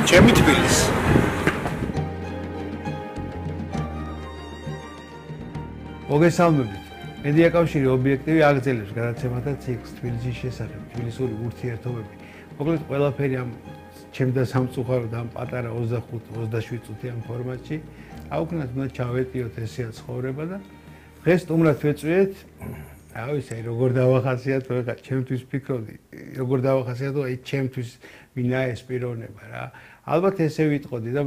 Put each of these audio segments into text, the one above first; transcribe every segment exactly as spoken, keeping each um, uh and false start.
ჩემი თბილისი. მოგესალმებით. მედია კავშირი ობიექტივი აგრძელებს გადაცემათა ციკლს თბილისის შესახებ, თბილისური ურთიერთობები. მოკლედ ყველაფერი ამ ჩემდა სამწუხაროდ ამ პატარა ოცდახუთ ოცდაშვიდ წუთიან ფორმატში. აუქნათ უნდა ჩავეტიოთ ესეა ცხოვრება და დღეს სტუმრად ვეწვიეთ. აუ ისე როგორ დავახასიათო ხა ჩემთვის ფიქრობდი, როგორ დავახასიათო აი ჩემთვის ვინა ეს პიროვნება რა. ალბათ ესე ვიტყოდი და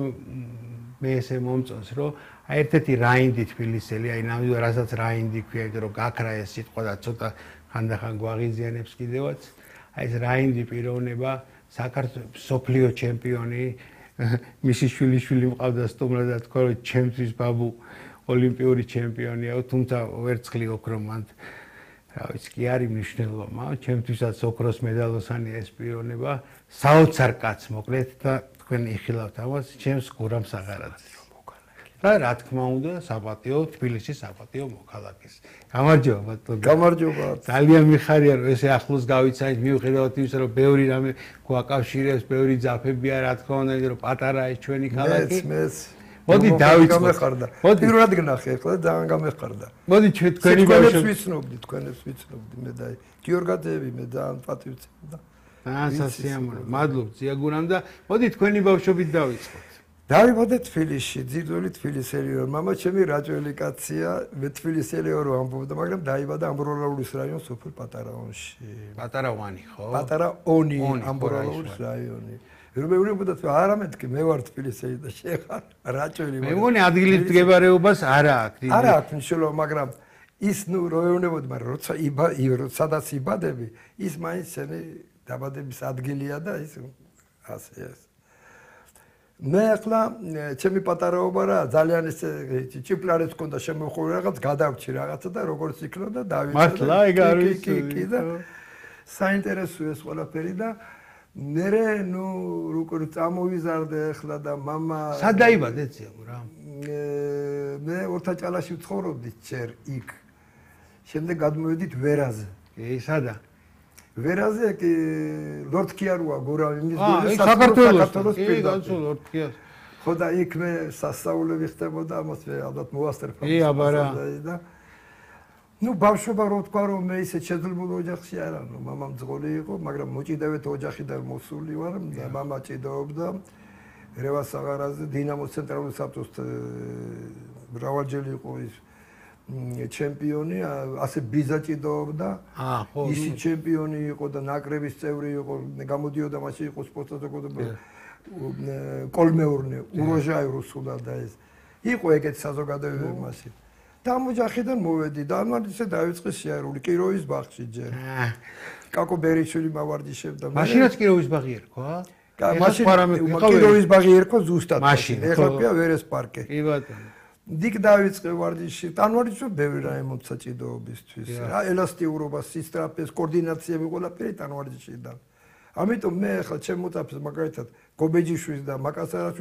მე ესე მომწონს რომ აი ერთ-ერთი რაინდი თბილისელი, აი ნამდვილად რასაც რაინდი ქვია, იმიტომ რომ გაქრა ეს სიტყვა და ცოტა ხანდახან გვაღიზიანებს კიდევაც. აი ეს რაინდი პიროვნება, საქართველოს სოფლიო ჩემპიონი, მისი შვილიშვილი მყავდა სტუმრად და თქვა რომ ჩემთვის ბაბუ ოლიმპიური ჩემპიონია, თუმცა ვერცხლი ოქრო მან რა ვიცი კი არის მნიშვნელობა, მაგრამ ჩემთვისაც ოქროს მედალოსანია ეს პიროვნება, საოცარ კაცს მოკლედ და თქვენ იხილავთ ამას, ჩემს გურამს აღარაძეს. რა რა თქმა უნდა, საპატიო თბილისის საპატიო მოქალაქის. გამარჯობა ბატონო. გამარჯობა. ძალიან მიხარია რომ ესე ახლოს გავიცანით, მიუხედავად იმისა რომ ბევრი რამე გვაკავშირებს, ბევრი ძაფებია, რა თქმა უნდა, იმიტომ რომ პატარა ეს ჩვენი ქალაქი. მეც მეც მოდი დავიწყოთ. გამეხარდა. პირველად გნახე, ახლა ძალიან გამეხარდა. მოდი ჩვენ თქვენი ბავშვები ვიცნობდი, თქვენებს ვიცნობდი მე და გიორგაძეები მე ძალიან პატივცემდა. აა სასიამოვნო. მადლობ ზიაგურამ და მოდი თქვენი ბავშვობით დავიწყოთ. დავიბადე თბილისში, ძირძველი თბილისელი ვარ. მამა ჩემი რაჭველი კაცია, მე თბილისელი ვარ ამბობდა, მაგრამ დაიბადა ამბროლაურის რაიონის სოფელ პატარაონში. პატარაონი ხო? პატარაონი, ამბროლაურის რაიონი. რომელი უნდა თქვა, არა მეთქი, მე ვარ თბილისელი და შეხარ რაჭველი ვარ. მე მგონი ადგილის მდგებარეობას არა აქვს. არა აქვს მნიშვნელობა, მაგრამ ის ნუ როევნებოდი, მაგრამ როცა იბა, სადაც იბადები, ის მაინც შენი დაბადების ადგილია და ის ასე ეს. მე ახლა ჩემი პატარაობა რა ძალიან ეს ჭიპლარებს ჰქონდა შემოხური რაღაც გადავჭი რაღაცა და როგორც იქნოდა დავიწყე. მართლა ეგ არის კი და საინტერესოა ეს ყველაფერი და მე ნუ როგორ წამოვიზარდე ახლა და მამა სად დაიბადე ციამო რა? მე ორთაჭალაში ვცხოვრობდი ჯერ იქ. შემდეგ გადმოვედით ვერაზე. კი, სადა? ვერაზე კი ლორდქიაროა გორავი მის გული საქართველოს პირდაპირ ლორდქიას. ხო და იქ მე სასწაულები ხდებოდა ამას მე ალბათ მოვასწრებდა. კი აბარა. და ნუ ბავშვობა რო თქვა რომ მე ისე შეძლებული ოჯახში არ ამ მამამ ძღოლი იყო, მაგრამ მოჭიდავეთ ოჯახიდან მოსული ვარ და მამა ჭიდაობდა რევას აღარაზე დინამოს ცენტრალური საბჭოს მრავალჯერ იყო ის ჩემპიონი, ასე ბიზა ჭიდაობდა. აა ხო. ისი ჩემპიონი იყო და ნაკრების წევრი იყო, გამოდიოდა მასში იყო სპორტსადაგოდება. კოლმეურნე, უროჟაი რუსულად და ეს. იყო ეგეთ საზოგადოებები მასში. და ამ ოჯახიდან მოვედი და ამან ისე დაიწყე სიარული კიროვის ბაღში ჯერ. კაკო ბერიშვილი მავარჯიშებდა. მაშინაც კიროვის ბაღი ერქვა? მაშინ კიროვის ბაღი ერქვა ზუსტად. ეხლა პია ვერეს პარკი. კი ბატონო. დიკ დავიწყე ვარჯიში. ტანვარჯიშო ბევრი რა ემოცია ჭიდაობისთვის. რა ელასტიურობა, სისტრაფეს, კოორდინაციები ყველაფერი ტანვარჯიშიდან. ამიტომ მე ახლა ჩემ მოწაფეს მაგალითად გობეჯიშვილს და მაკასარაშვილს